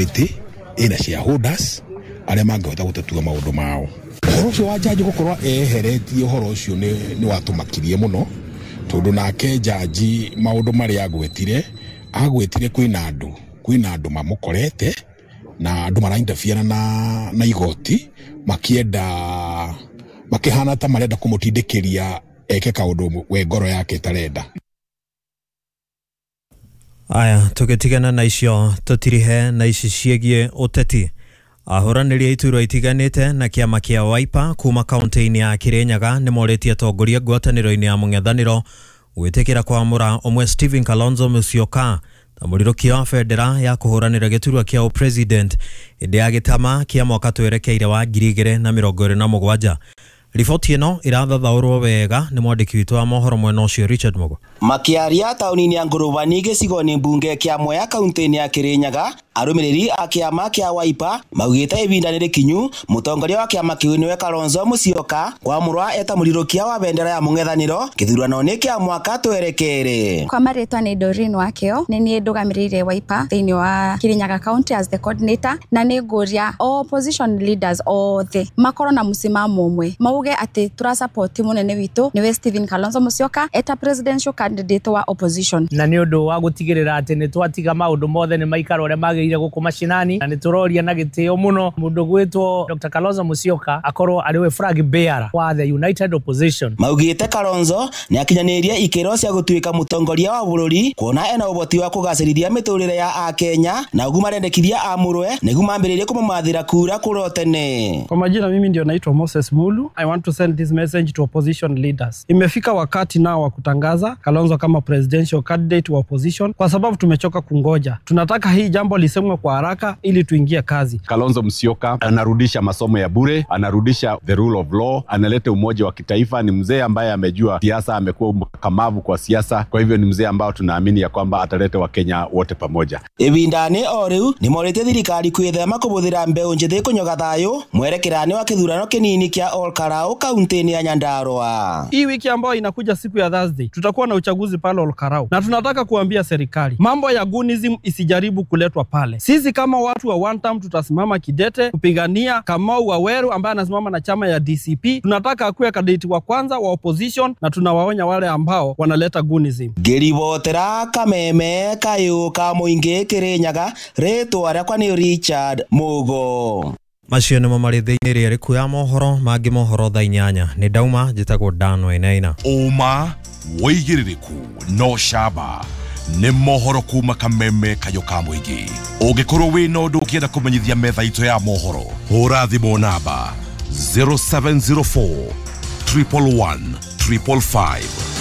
Committee ĩna shareholders arĩa mangĩhota gũtatua maũndũ mao. Ũhoro ũcio wa jaji gũkorwo eheretie ũhoro ũcio nĩ watũmakirie mũno, tondũ nake jaji maũndũ marĩa agwetire kwĩna andũ mamũkorete na andũ marainterfere na igoti, makienda makĩhana ta marenda kũmũtindĩkĩria eke kaũndũ we ngoro yake ĩtarenda. Aya, tũgĩtigana na icio tũtirihe na ici ciĩgiĩ ũteti. Ahũranĩri a iturwa itiganĩte na kĩama kĩa Wiper kuma kaunti-inĩ ya Kirinyaga nĩmorĩtie atongoria ngwatanĩro-inĩ ya mũng'ethanĩro gwĩtĩkĩra kwamũra ũmwe Stephen Kalonzo Musyoka ta mũrirũkia wa bendera ya kũhũranĩra gĩturwa kĩa ũpresident hĩndĩ ya gĩtama kĩa mwaka twerekeire wa 2027. Riboti ĩno ĩrathathaũrwo wega nĩ mwandĩki witũ wa mohoro mwena ũcio Richard Mugo. Makiaria taũni-inĩ ya Ngũrũbani gĩcigo-inĩ mbunge kĩa Mwea kaunti-inĩ ya Kirinyaga, arũmĩrĩri a kĩama kĩa Wiper maugĩte ihinda nĩ rĩkinyu mũtongoria wa kĩama kĩu nĩwe Kalonzo Musyoka kwamũrwa eta mũrirũkia wa bendera ya mũng'ethanĩro gĩthurano-inĩ kĩa mwaka twerekeire. Kwa marĩtwa nĩ Doreen Wakeo, nĩ niĩ ndũgamĩrĩire Wiper thĩinĩ wa Kirinyaga County as the coordinator, na nĩ ngũria opposition leaders othe makorwo na mũsimamo ũmwe, mauge atĩ tũrasupport mũnene witũ nĩwe Stephen Kalonzo Musyoka eta presidential candidate wa opposition. Na nĩ ũndũ wa gũtigĩrĩra atĩ nĩ twatiga maũndũ mothe nĩ maikara ũrĩa magĩrĩire gũkũ mashinani, na nĩ tũroria na gĩtĩo mũno mũndũ gwĩtwo Dr. Kalonzo Musyoka akorwo arĩ we flag bearer wa the United Opposition. Maugĩte Kalonzo nĩ akinyanĩirie ikĩro cia gũtuĩka mũtongoria wa bũrũri, kuona ena ũhoti wa kũgacĩrithia mĩtũrĩre ya Akenya, na ũguo marendekithia amũrwe nĩguo mambĩrĩrie kũmũmathĩra kura kũrĩa tene. Kwa majina mimi ndio naitwa Moses Mulu. I want to send this message to opposition leaders. Imefika wakati nao wa kutangaza Kalonzo kama presidential candidate wa opposition, kwa sababu tumechoka kungoja. Tunataka hii jambo lisemwe kwa haraka ili tuingie kazi. Kalonzo Musyoka anarudisha masomo ya bure, anarudisha the rule of law, analeta umoja wa kitaifa. Ni mzee ambaye amejua siasa, amekuwa mkakamavu kwa siasa. Kwa hivyo ni mzee ambao tunaamini ya kwamba ataleta Wakenya wote pamoja. Ibindani o riu ni morĩtie thirikari kwĩthema kũbũthĩra mbeũ njĩthĩ kũnyoga thayũ mwerekerani wa kĩthurano kĩnini kĩa Olkarau kaunti-inĩ ya Nyandarua. Hii wiki ambayo inakuja siku ya Thursday tutakuwa na uchaguzi pale Olkarau, na tunataka kuambia serikali mambo ya gunism isijaribu kuletwa pale. Sisi kama watu wa one term tutasimama kidete kupigania Kamau Waweru ambaye anasimama na chama ya DCP. Tunataka akuwe candidate wa kwanza wa opposition, na tunawaonya wale ambao wanaleta gunism. Ngĩribotera Kameme kayũ ka mũingĩ Kirinyaga, rĩtwa rĩakwa nĩ Richard Mugo. Macio nĩmo marĩ thĩinĩ rĩrĩa rĩku ya mohoro mangĩ mohoro thaa 8. Nĩ ndauma, njĩtagwo Dan Wainaina. Ũma wĩigĩrĩrĩku no camba nĩ mohoro kuma Kameme kayũ ka mũingĩ. Ũngĩkorwo wĩna ũndũ ũkĩenda kũmenyithia metha itũ ya mohoro, hũra thimũ namba 0704 111 555.